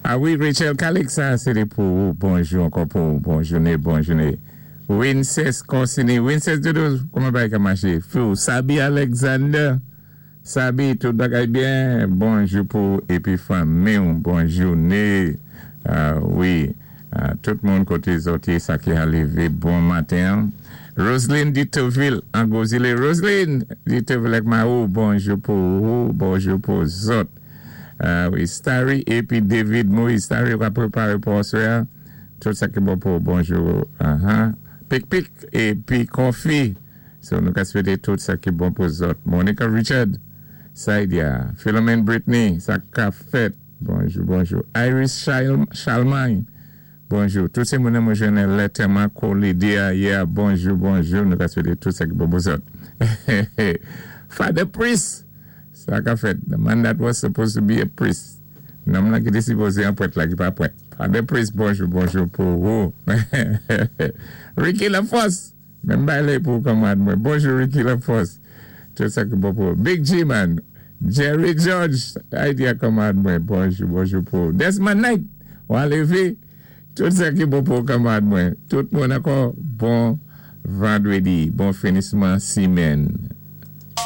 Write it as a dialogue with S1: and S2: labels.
S1: A wi, Rachel Calix, sa sé té pou ou. Bonjou ankò pou ou. Bon jouné, bon jouné. Winces Corsini, Winces Dodo, kouman bagay ka maché? Fou, Sabi Alexander, Sabi, tout bagay byen? Bonjou pou ou épi fanmi-w. Bon jouné. A wi, tout moun koté zòt yé, sa ki a lévé bon maten. Roseline Ditoville, an gwo zilé. Roseline Ditoville ak mari-w, bonjou pou ou, bonjou pou zòt. A wi, Starry épi David Moïse. Starry, ou ka préparé pou aswè a. Tout sa ki bon pou ou, bonjou. Pik pik épi coffee. So nou ka swété tout sa ki bon pou zòt. Monica Richard, Saidia, Philomene Brittany, sa ka fèt. Bonjou, bonjou. Iris Chalmagne, bonjou. Tout sé moun mwen jwenn lè tèman kolide a yè, bonjou, bonjou. Nou ka swété tout sa ki bon pou zòt. Father Priest, sa ka fèt. The man that was supposed to be a priest. Nonm la ki té sipozé an prèt la ki pa prèt. Father Priest, bonjou, bonjou pou ou. Ricky Lafosse, menm bay pou kanmarad mwen. Bonjou, Ricky Lafosse. Tout sa ki bon pou ou. Big G man, Jerry George, idea kanmarad mwen. Bonjou, bonjou pou ou. Desmond Knight, ou a lévé. Tout sa ki bon pou ou, kanmarad mwen. Tout moun ankò, bon vandrédi, bon finisman simèn.